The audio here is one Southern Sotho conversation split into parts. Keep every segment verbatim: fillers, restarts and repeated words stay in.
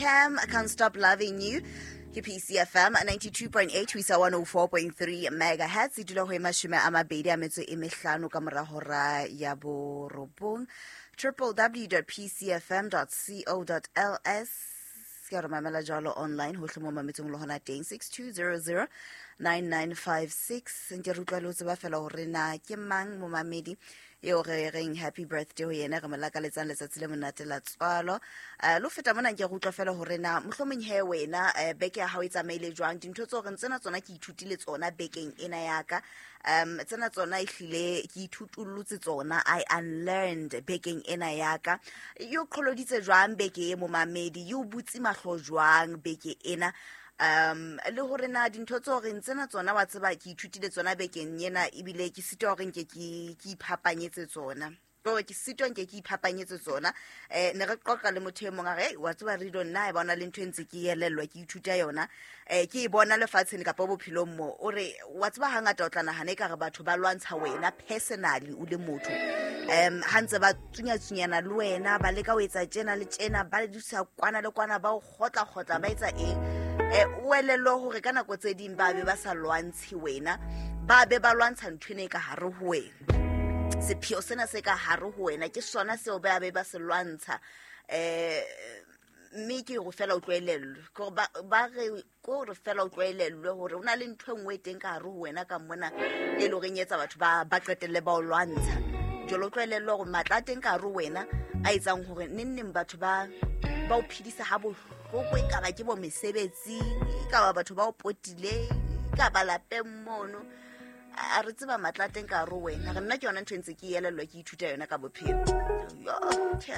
Cam, I Can't Stop Loving You. Ke P C F M ninety-two point eight ho isa one oh four point three megahertz. E dula ho e mashome a mabedi a metso e mehlano ka mora hora ya borobong. w w w dot p c f m dot co dot l s ke re mamela jwalo online hohle mo mametseng le hona teng. six two zero zero nine nine five six nke re utlwa le ho tseba fela hore na ke mang momamedi eo re reng happy birthday ho yena, re mo lakaletsang letsatsi le monate la tswalo. um le ho feta mona, nke re utlwa fela hore na mohlomong he wena um beke ya hao e tsamaile jwang, dintho tse horeng tsena tsona ke ithutile tsona bekeng ena ya ka, um tsena tsona ehlile ke ithutullotse tsona, I unlearned bekeng ena ya ka. E o qholoditse jwang beke e, momamedi? E o butse mahlo jwang beke ena? um le hore na dintho tse horeng tsena tsona wa tseba ke ithutile tsona bekeng ena, ebile ke sitwa hore nke ke ke iphapanyetse tsona, ke ke sitwa nke ke iphapanyetse tsona. um ne re qoqa le motho e mong, a re, "Ei, wa tseba Rido, nna e bona le ntho e ntse ke elellwa, ke ithuta yona, um ke e bona lefatsheng kapa bophelong mo." O re, wa tseba, hangata o tla nahana e ka re batho ba lwantsha wena personally o le motho, um ha ntse ba tsunyatsunyana le wena, ba leka ho etsa tjena le tjena, ba dusa kwana le kwana, ba o kgotla-kgotla, ba etsa eng, um o elellwe hore ka nako tse ding ba be ba sa lwantshe wena, ba be ba lwantsha ntho ena e ka hare ho wena. Sepheo sena se ka hare ho wena ke sona seo ba be ba se lwantsha. um mme ke go fela o tloelellwe ke gore ba ba re ke gore fela o tloelellwe hore ho na le ntho e nngwe e teng ka hare ho wena ka mona, e le horeng e etsa batho ba ba qetelle ba o lwantsha. Jwale o tloelellwe hore matla a teng ka hare ho wena a etsang hore neng neng batho ba ba o phedisa ha bohloko, e kaba ke bo mesebetsing, e kaba batho ba o potileng, e kaba lapeng mono, a re tseba matla a teng ka hare ho wena. Re nna ke yona ntho e ntse ke elellwa, ke ithuta yona ka bophelo. Yo, tjhe.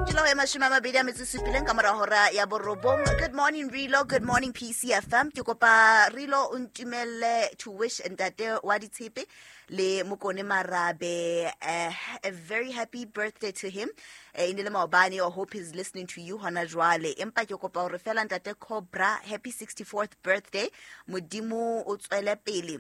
Ke la ho ya mashome a mabedi a metso e supileng ka mora hora ya borobong. Good morning Rilo, good morning P C F M. Ke kopa Rilo o ntumelle to wish ntate wa ditshepe le Mokone Marabe uh, a very happy birthday to him. Eh, e ne le maobane. I hope he's listening to you hona jwale. Empa ke kopa hore fela ntate Cobra, happy sixty-fourth birthday. Modimo o tswele pele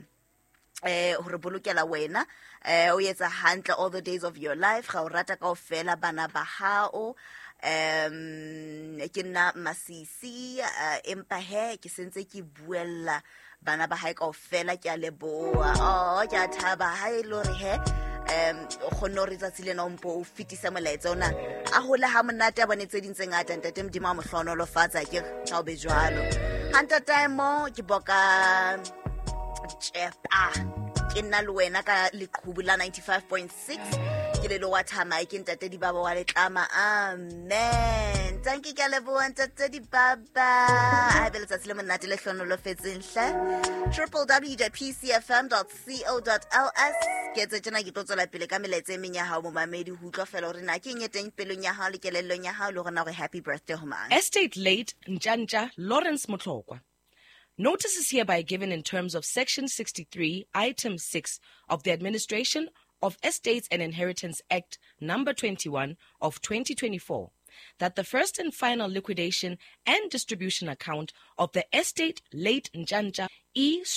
eh hore bolokela wena, eh o etsa hantle all the days of your life. Ga o rata kaofela bana ba hao. um ke nna Masisi, eh, empa he ke sentse ke buella bana ba hae kaofela. Ke a leboha. Oh, ke a thaba ha e le hore he um o kgonne hore tsatsi lena o mpo o fetisa molaetsa ona, a hole ha monate, a bone tse ding tse ngata. Ntate Modimo a mo hlohonolofatsa. Ke ha o be jwalo ha ntatae mo ke boka tšepa ke nna le wena ka leqhubu la ninety-five point six. Ke lelo wa thamae, ke ntate Dibaba wa Letlama. Amen, tanki, ke a leboha ntate Dibaba. A be letsatsi le monate le hlonolofetseng hle. w w w dot p c f m dot co dot l s ke etse tjena, ke tlo tswela pele ka melaetsa e meng ya hao, momamedi, ho utlwa fela hore na ke eng e teng pelong ya hao le kelellong ya hao, le hore na hore happy birthday ho mang. Estate late Njanja Lawrence Motlokwa. Notice is hereby given in terms of Section sixty-three, Item six of the Administration of Estates and Inheritance Act number twenty-one of twenty twenty-four that the first and final liquidation and distribution account of the estate late Njanja E.